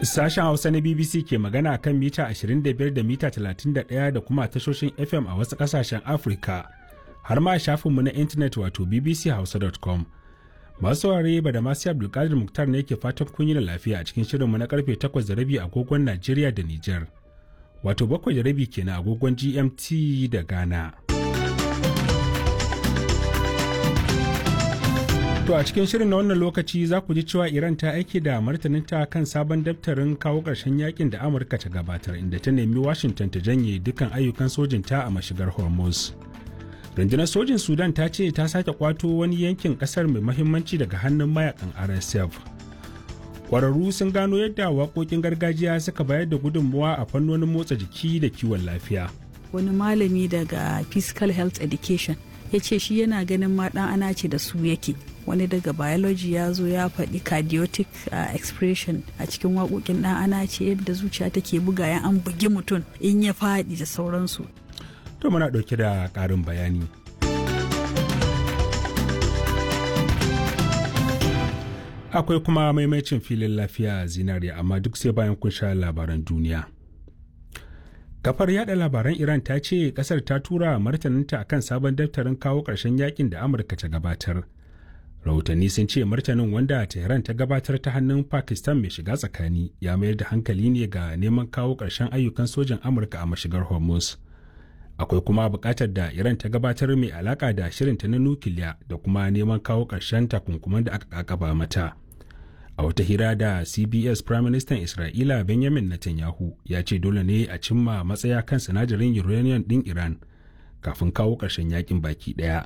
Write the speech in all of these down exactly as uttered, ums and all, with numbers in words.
Sashen Hausa na B B C ke magana kan mita ashirin da biyar da mita talatin da ɗaya da kuma tashoshin F M a wasu ƙasashen Afirka, har ma shafinmu na intanet wato B B C hausa dot com. Masu saurare, ba da masu Abdulkadir Muktar ne ke fatan kun yi da lafiya a cikin shirinmu na karfe takwas da rabi agogon Najeriya da Nijar. Wato bakwai da rabi kenan agogon G M T da Ghana. To, a cikin shirin na wannan lokaci za ku ji cewa Iran ta aiki da martaninta kan sabon daftarin kawo ƙarshen yakin da Amurka ta gabatar, inda ta nemi Washington ta janye dukkan ayyukan sojinta a mashigar Hormuz. Rundunar sojin Sudan ta ce ta sake kwato wani yankin kasar mai mahimmanci daga hannun mayakan R S F. Kwararru sun gano yadda waƙoƙin gargajiya suka bayar da gudunmuwa a fannonin motsa jiki da kiwon lafiya. Wani malami daga physical health education ya ce shi yana ganin ma ɗan ana ce da su yake. Wani daga biology ya zo ya faɗi cardiotic uh, expression a cikin waƙoƙin ɗan ana ce, yadda zuciya take buga ya an bugi mutum in ya faɗi da sauransu. To, muna ɗauke da ƙarin bayani. Akwai kuma maimacin filin lafiya zinariya, amma duk sai bayan kun sha labaran duniya. Kafar yada labaran Iran ta ce kasar ta tura martaninta akan sabon daftarin kawo ƙarshen yakin da Amurka ta gabatar. Rahotanni sun ce martanin, wanda Tehran ta gabatar ta hannun Pakistan mai shiga tsakani, ya mayar da hankali ne ga neman kawo ƙarshen ayyukan sojan Amurka a mashigar Hormuz. Akwai kuma buƙatar da Iran ta gabatar mai alaƙa da shirinta na nukiliya da kuma neman kawo ƙarshen takunkuman da aka kakaba mata. A wata hira da C B S, Prime Minister Isra'ila Benjamin Netanyahu ya ce dole ne a cimma matsaya kan sinadarin uranium ɗin Iran kafin kawo ƙarshen yakin baki ɗaya.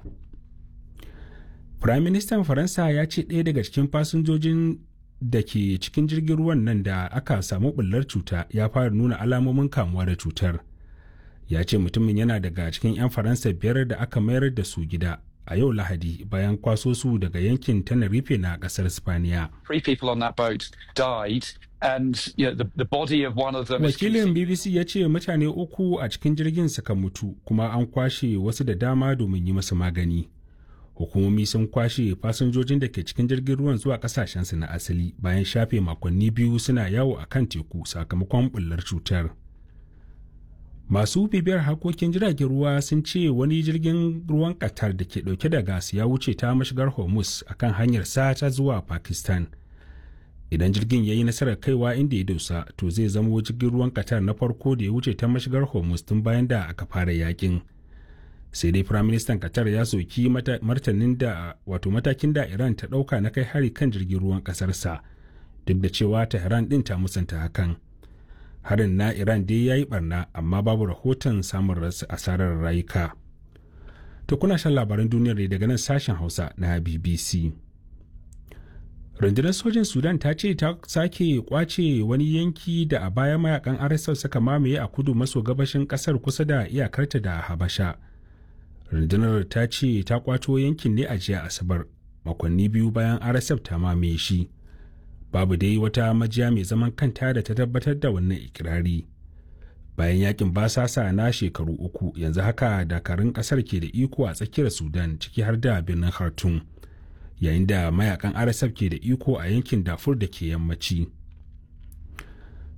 Prime Minister Faransa ya ce ɗaya daga cikin fasinjojin da ke cikin jirgin ruwan nan da aka samu ɓullar cuta ya fara nuna alamomin kamuwa da cutar. Ya ce mutumin yana daga cikin 'yan Faransa biyar da aka mayar da su gida a yau Lahadi bayan kwaso su daga yankin Tenerife na kasar Spaniya. Wakilin B B C ya ce mutane uku a cikin jirgin suka mutu, kuma an kwashe wasu da dama domin yi masu magani. Hukumomi sun kwashe fasinjojin da ke cikin jirgin ruwan zuwa kasashensu na asali bayan shafe makonni biyu suna yawo a kan teku sakamakon bullar cutar. Masu bibiyar harkokin jiragen ruwa sun ce wani jirgin ruwan Qatar da ke dauke da gas ya wuce ta mashigar Hormuz akan hanyar sata zuwa Pakistan. Idan jirgin ya yi nasarar kaiwa inda ya dosa, to zai zamo jirgin ruwan Qatar na farko da ya wuce ta mashigar Hormuz tun bayan da aka fara yakin. Sai dai Firaministan Qatar ya soki martanin da wato matakin da Iran ta dauka na kai hari kan jirgin ruwan kasarsa, duk da cewa Tehran din ta musanta hakan. Harin na Iran dai ya yi barna, amma babu rahoton samun asarar rayuka. To, kuna shan labaran duniyar ne daga nan Sashen Hausa na B B C. Rundunar sojin Sudan ta ce ta sake kwace wani yanki da a baya mayakan R S F suka mamaye a kudu maso gabashin kasar, kusa da iyakarta da Habasha. Rundunar ta ce ta kwato yankin ne a jiya Asabar, makonni biyu bayan R S F ta mamaye shi. Babu dai wata majiya mai zaman kanta da ta tabbatar da wannan ikirari. Bayan yakin basasa na shekaru uku, yanzu haka dakarun kasar ke da iko a tsakiyar Sudan, ciki har da birnin Khartoum, yayin da mayakan R S F ke da iko a yankin Darfur da ke yammaci.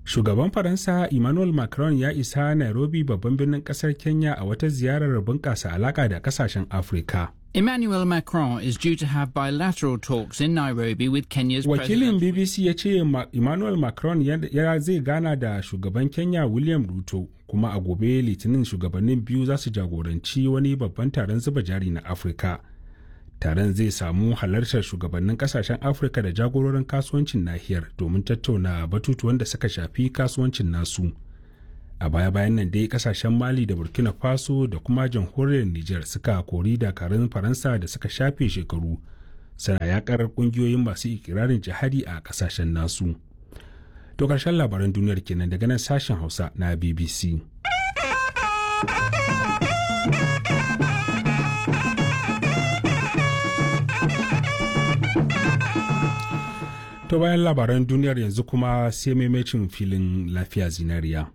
Shugaban Faransa Emmanuel Macron ya isa Nairobi, babban birnin kasar Kenya, a wata ziyarar bunƙasa alaƙa da kasashen Afirka. Emmanuel Macron is due to have bilateral talks in Nairobi with Kenya's Wakilin president. B B C ya ce Emmanuel Macron ya zai gana da shugaban Kenya William Ruto, kuma a gobe Litinin shugabannin biyu za su jagoranci wani babban taron zuba jari na Afirka. Taron zai samu halartar shugabannin kasashen Afirka da jagororin kasuwancin nahiyar domin tattauna batutuwan da suka shafi kasuwancin nasu. A baya-bayan nan dai kasashen Mali da Burkina Faso da kuma jamhuriyar Niger suka kori dakarun Faransa da suka shafe shekaru suna yakar kungiyoyin masu ikirarin jihadi a kasashen nasu. To, karshen labaran duniyar kenan daga nan Sashen Hausa na B B C. To, bayan labaran duniyar, yanzu kuma sai maimacin filin lafiya zinariya.